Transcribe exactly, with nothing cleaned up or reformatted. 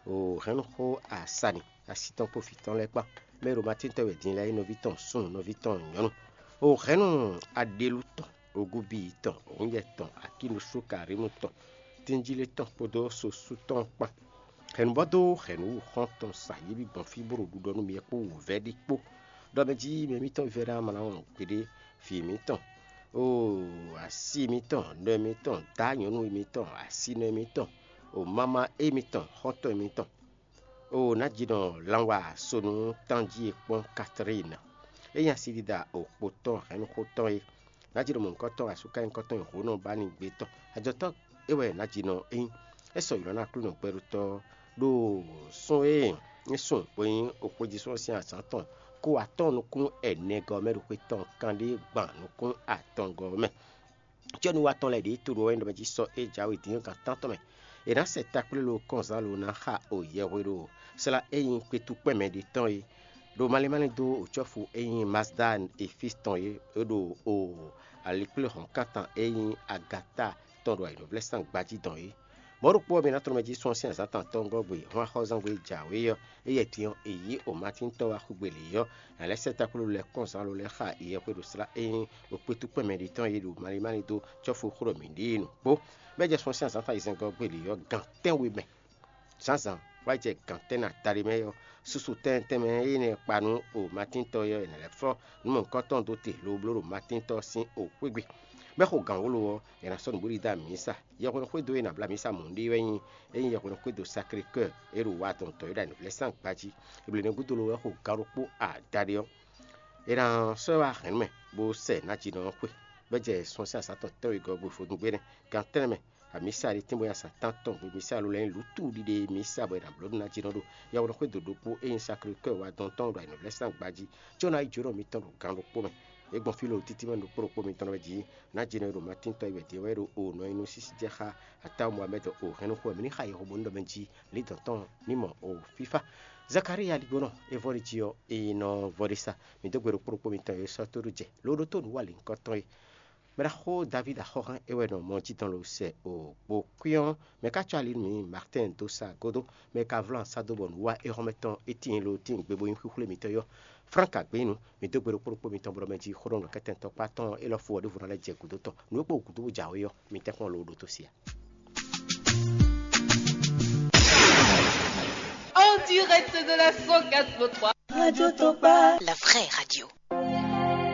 O hɛ̌nnu xó asani asi tɔn kpó vǐ tɔn lɛ́ɛ kpán, mɛ e ɖo Matín tɔn wɛ din lɛ́ɛ é nɔví tɔn súnnu, nɔví tɔn nyɔ̌nu. O hɛ̌nnu aɖelu tɔn, ogúbíyi tɔn, hǔnyɛ tɔn, akínusú karímu tɔn, tínjílé tɔn kpódó sosú tɔn kpán. Hɛ̌nnu bɔ dó hɛ̌nnu wú xɔ́ntɔn sa yě bí gbɔn fí bó ɖo ɖuɖɔ nú mi kpó wǔvɛ́ ɖé kpó, ɖɔ mɛ jí mɛ mǐtɔn vívɛ́ná ma ná wɔn gbeɖé vǐ mǐtɔn, o asi mǐtɔn, nɔ mǐtɔn, dá nyɔ̌nu mǐtɔn, asinɔ mǐtɔn, o mama émítɔn, xɔ́ntɔn émítɔn. O nǎjínɔ lanwa sonu tánjí e kpɔ́n Katlín, é nyí asidida okpo tɔn hɛ̌nnuxó tɔn é. Nǎjínɔ mɔ̌hunkɔtɔn asúkanyínkɔtɔn e hǒnɔ ba ní gbé tɔn, ajɔtɔ́ é wɛ nǎjínɔ é nyí. É sɔ́ ylɔ̌ ná Aklúnɔ gbɛɖutɔ́ ɖo sún e é sun bó nyí oxwéjisún ɔ́ sín azǎn tɔn kó atɔ́ɔ́n nukún ɛnɛgɔ́ mɛ ɖo xwe tɔn kanɖé gban nukún atɔngɔ́ mɛ. Cɛ́núwatɔ́ lɛ́ɛ ɖě to ɖo wɛ ɖɔ mɛ jí sɔ́ é jǎwe din ɔ́ gan tántɔn mɛ. È nǎ sɛ takplé lo kɔnzán lo ná xa o yɛhwe ɖo slá e nyí kpetukpɛ́ mɛ ɖé tɔn é, ɖo malín málín dó o cɔ́fu e nyí Mazdan e fí tɔn é, é ɖo o alikpléhɔ̌nkántán e nyí Agata tɔn ɖo ayǐhɔ́ngblɛ́sán gbají dɔn é. Mɔ̌ ɖokpó ɔ́, mi ná tlɔ́ mɛ jí sɔ́ sín azǎn tɔn gɔ́ gbe hɔn axɔ́zán gbe jǎwe ɔ́, éyɛ́ din ɔ́, è yí o Matín tɔ́ wá xwé gbe lě ɔ́, nǎ lɛ́ sɛ́ takplú lɛ́ɛ kɔn zǎn lo lɛ́ɛ xa yɛhweɖoslá e nyí ɖo kpétúkpɛ́n mɛ ɖě tɔn e ɖo malín málín dó cɔ́fu xó ɖɔ mǐ ɖe e nǔ kpó. Bɔ é jɛ sɔ́ sín azǎn tɔn ayizɛ́ngɔ́ gbe lě ɔ́, gan tɛ́nwe mɛ zǎnzǎn wá jɛ gan tɛ́nnɛ adaɖé mɛ ɔ́, susu tɛnmɛ tɛnmɛ énɛ́ kpa nú o Matín tɔ́ ɔ́, è nǎ lɛ́ flɔ́ nǔ mɔ̌hunkɔtɔn dó te lobló ɖo Matín tɔ́ sín o xwé gbe. Bɔ é xo gǎn wló ɔ́, è nǎ sɔ́ nǔɖuɖu dó amǐsa. Yɛhweɖo xwédo e è nǎ bló amǐsa mɔ̌ ɖe wɛ nyí é nyí yɛhweɖo xwédo Saklekɔ́ɔ e ɖo wa dɔn tɔ̌yɔ́ɖa Nǔvlɛ́sán gbají. Eblénɛ́ gúdo ló wɛ xo gǎn ɖokpó adaɖé ɔ́. È nǎ sɔ́ ɛ wá hɛ̌nnu mɛ bó sɛ nǎjínɔ ɔ́ xwe, bɔ é jɛ sun sín azǎn tɔn tɛ́nwegɔ́ gbe vodúngbe nɛ́. Gan tɛ́nnɛ mɛ, amǐsa ɖé tínbɔ́nyasá tántɔn gbe mísa ló lɛ́ nyí lǔtú ɖiɖe e mísa bɔ è nǎ bló nú nǎjínɔ ɖo yɛhweɖo xwédo ɖokpó e nyí Saklekɔ́ɔ wa dɔn tɔn ɖo Nǔvlɛ́sán gbají, có ná yí jǒnɔ mitɔn ɖo gǎn ɖokpó mɛ. É gbɔn fí lǒ títí mɛ ɖokpó ɖokpó mitɔn lɛ́ɛ jí. Nǎjínɔ e ɖo Matín tɔn yi wɛ din ɔ́ wɛ ɖo o nɔ nyi nú sísí jɛ xá Atáwu Mohamɛ́d o hɛn nú xó wɛ mǐ ní xa yɛhweɖo nú ɖɔ mɛ jí lǐndɔ̌n tɔn ní mɔ o fífá. Zakalíya ligbónɔ e vɔ́ ɖi jí ɔ́, é nɔ vɔ́ ɖé sá. Mǐ dó gbe ɖokpó ɖokpó mitɔn e sɔ́ tó ɖó jɛ lǒ ɖótó nǔwanlǐnkɔ tɔn é. Mɛɖaxó Davíd axɔ́hán é wɛ nɔ mɔ jí dɔn lo sɛ o kpo kwín ɔ́, mɛ ka cɔ́ ali nú mǐ Martɛ́n dó sá gúdo, mɛ ka vlá sá dó bɔ nǔ wa éhɔ́mɛ tɔn é tíin lo tíin gbe bó nyí xwíxwlé mitɔn yɔ́. Frank Agbénu, mi dó gbe ɖokpó ɖokpó mitɔn bló mɛ jí xó ɖɔ nǔkɛntɛn tɔkpá tɔn élɔ́ fó ɔ́ ɖěvo ná lɛ́ jɛ gǔdo tɔn. Nǔ e kpo gǔdo bó jǎwe ɔ́, mi tɛ́nkpɔ́n lo ɖótó sia. En direct de la cent quatre point trois. Radio Tokpa. La vraie radio.